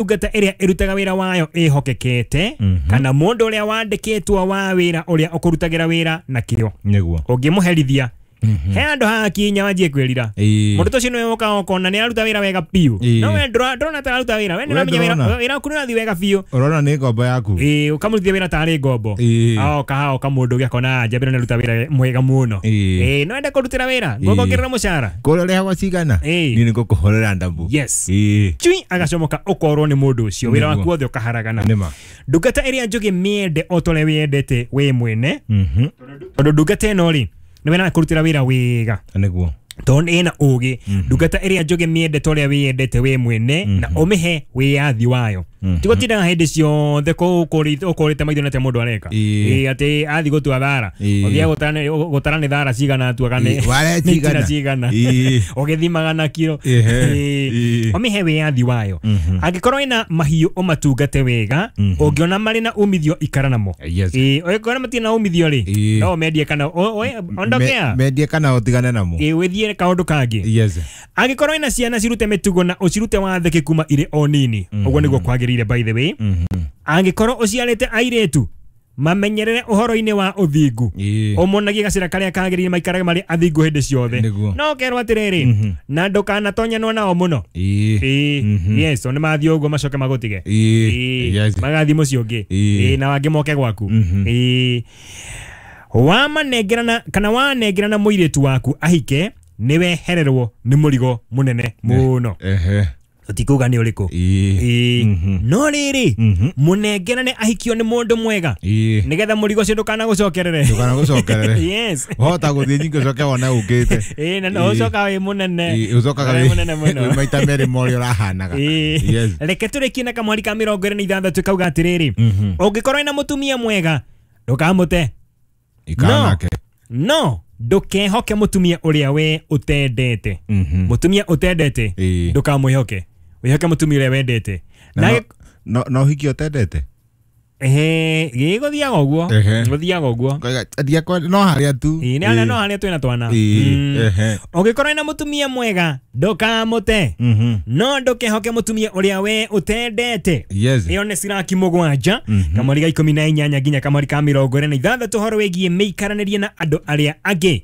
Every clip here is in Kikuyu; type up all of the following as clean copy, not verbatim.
Ndungata ĩrĩa ĩrutaga wĩra wayo ĩhokekete kana mũndũ ũrĩa wandĩkĩtwo wa wĩra ũrĩa ũkũrutagĩra wĩra na kĩo Nĩguo. Ũngĩmũherithia he handũ hakinya wanjie kwĩrira. Mũndũ ũcio nĩwe ũkaga ũkona nĩ aruta wĩra wega biũ, no we ndũrona ta aruta wĩra. We nĩ We ũramenya wĩra ndũrona. Wĩra waku nĩ ũrathiĩ wega biũ. Ũrona nĩ ngombo yaku. Ĩĩ, ũkamũrutithia wĩra tarĩ ngombo. Aoka haoka mũndũ ũngĩ akona njambĩra nĩ aruta wĩra mwega mũno. Ĩĩ, no ende kũrutĩra wĩra ngũkongerera mũcara. Kũrĩa ũrĩhagwo cigana? Niĩ nĩ ngũkũhũrĩra ndambu. Cui agacomoka ũkorwo nĩ mũndũ ũcio wĩra waku wothe ũkaharagana. Nĩma. Ndungata ĩrĩa njũgĩ mĩende o ta ũrĩa wĩyendete wĩ mwene, tondũ ndungata ĩno rĩ nĩwe na kũrutĩra wĩra wega. Nĩguo. Tondũ ĩna ũgĩ. Ndungata ĩrĩa njũgĩ mĩende ta ũrĩa wĩyendete wĩ mwene na ũmĩhe wĩyathi wayo, ti gũtindaga hĩndĩ ciothe ũkũrĩte maitho nĩ atĩa mũndũ areka. Ĩĩ, atĩ athiĩ gũtua thara, ũthiĩ gũtara nĩ thara cigana atuaga nĩ Ware nĩ itina cigana. Cigana ũgĩthimaga na kiro. Ũmĩhe wĩyathi wayo. Angĩkorwo ĩna mahiũ ũmatungate wega. Ũngĩona marĩ na umithio ikara namo. Ĩĩ, ũngĩkorwo matirĩ na umithio rĩ, no ũmendie kana ondokea. Mendie kana ũtigane namo. Ĩĩ, wĩthiĩre kaũndũ kangĩ. Angĩkorwo ĩna ciana cirute mĩtugo na ũcirute wathĩki kuma irĩ o nini. Ũguo nĩguo kwagĩrĩire, by the way. Angĩkorwo ũciarĩte airĩtu, mamenyerere ũhoro-inĩ wa ũthingu, ũmonagie gacĩra karĩa kagĩrĩire maikarage marĩ athingu hĩndĩ ciothe. No ũkerwo atĩrĩrĩ, na ndũkanatonyanwo nao mũno. Ĩĩ, yes, o nĩ mathiĩ ũguo macoke magũtige. Ĩĩ, magathiĩ mũciĩ ũngĩ. Ĩĩ, na wangĩ moke gwaku. Ĩĩ, wamanengerana kana wanengerana mũirĩtu waku ahike nĩ wehererwo nĩ mũrigo mũnene mũno. Tũtikuga nĩ ũrĩkũ. Ĩĩ, no rĩrĩ, mũnengerane ahikio nĩ mũndũ mwega nĩgetha mũrigo ũcio ndũkanagũcokerere. Ndũkanagũcokerere. Wahota gũthiĩ nyingĩ ũcoke wone ũkĩte. Ĩĩ, na no ũcoka wĩ mũnene. Ũcokaga Wĩ mũnene mũno. Wĩ maita merĩ ma ũrĩa ũrahanaga. Reke tũrĩkie na kamweri ka 26 kauga atĩrĩrĩ, ũngĩkorwo wĩna mũtumia mwega ndũkamũte. Ikara nake. No ndũkehoke mũtumia ũrĩa we ũtendete. Mũtumia ũtendete ndũkamwĩhoke, wĩhoke mũtumia ũrĩa wendete. Na no ũhiki ũtendete? Ehe, gĩgũthiaga ũguo. Gũthiaga ũguo. Ngoiga, no harĩa tu. Ĩĩ, nĩ harĩa no harĩa twĩna twana. Ũngĩkorwo wĩna mũtumia mwega ndũkamũte, no ndũkehoke mũtumia ũrĩa we ũtendete. Ĩyo nĩ Siraki 7 kamweri ga 18 nginya kamweri ka 26, ũhoro wĩgiĩ mĩikaranĩrie na andũ arĩa angĩ.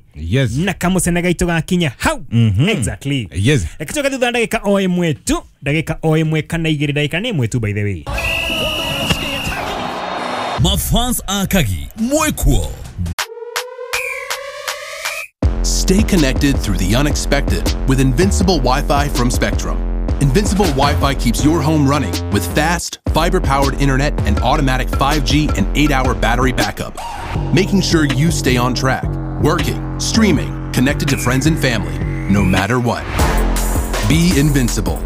Na kamũcene gaitũ gakinya hau. Exactly. Reke tũke thutha ndagĩka o ĩmwe tu, ndagĩka o ĩmwe kana igĩrĩ, ndagĩka nĩ ĩmwe tu, by the way. Mafans Akagi, Mwekuo. Stay connected through the unexpected with Invincible Wi-Fi from Spectrum. Invincible Wi-Fi keeps your home running with fast, fiber-powered internet and automatic 5G and 8-hour battery backup, making sure you stay on track, working, streaming, connected to friends and family, no matter what. Be invincible.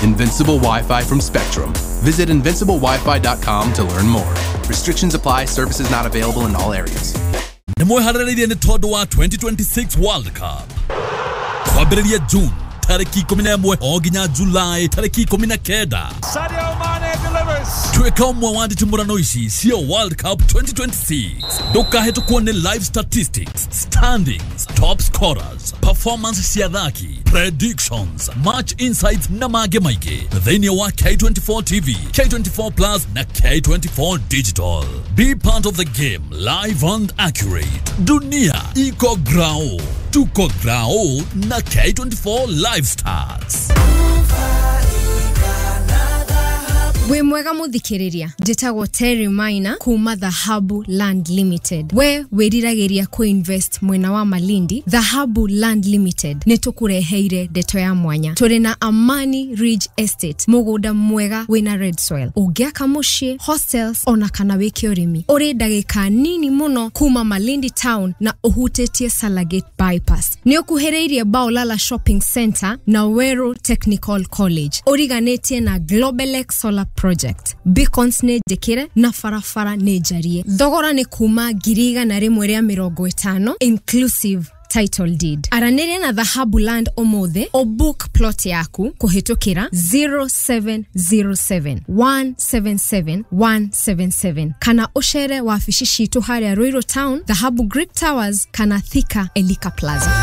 Invincible Wi-Fi from Spectrum. Visit invinciblewifi.com to learn more. Restrictions apply. Services not available in all areas. Nĩ mwĩharĩrĩirie nĩ tondũ wa 2026 World Cup kwambĩrĩria June tarĩki 11 o nginya July tarĩki 19. Sadio Mane delivers. Tuĩka ũmwe wa nditimũrano ici cia World Cup 2026. Ndũkahĩtũkwo nĩ live statistics, standings, top scorers, performance cia athaki, predictions, match insights na mangĩ maingĩ thĩinĩ wa K24 TV, K24 Plus na K24 Digital. Be part of the game, live and accurate. Dunia iko grao, tuko grao na K24 Live Stars. Wĩ mwega mũthikĩrĩria, njĩtagwo Terry Maina kuma Dhahabu Land Limited. We wĩriragĩria kũinvest mwena wa Malindi, Dhahabu Land Limited nĩ tũkũreheire ndeto ya mwanya. Tũrĩ na Amani Ridge Estate, mũgũnda mwega wĩna red soil, ũngĩaka mũciĩ, hostels ona kana wĩke ũrĩmi. Ũrĩ ndagĩka nini mũno kuma Malindi town na ũhutĩtie Salagate bypass. Nĩ ũkuhĩrĩirie Baolala Shopping Center na Weru Technical College. Ũriganĩtie na Globelex Solar Project. Beacons nĩ njĩkĩre na barabara nĩ njarie. Thogora nĩ kuma 150,000 inclusive title deed. Aranĩria na Dhahabu Land ũmũthĩ ũbook plot yaku kũhĩtũkĩra 0707 177 177 kana ũcere wabici citũ harĩa Ruiru Town, Dhahabu Greek Towers kana Thika Elika Plaza.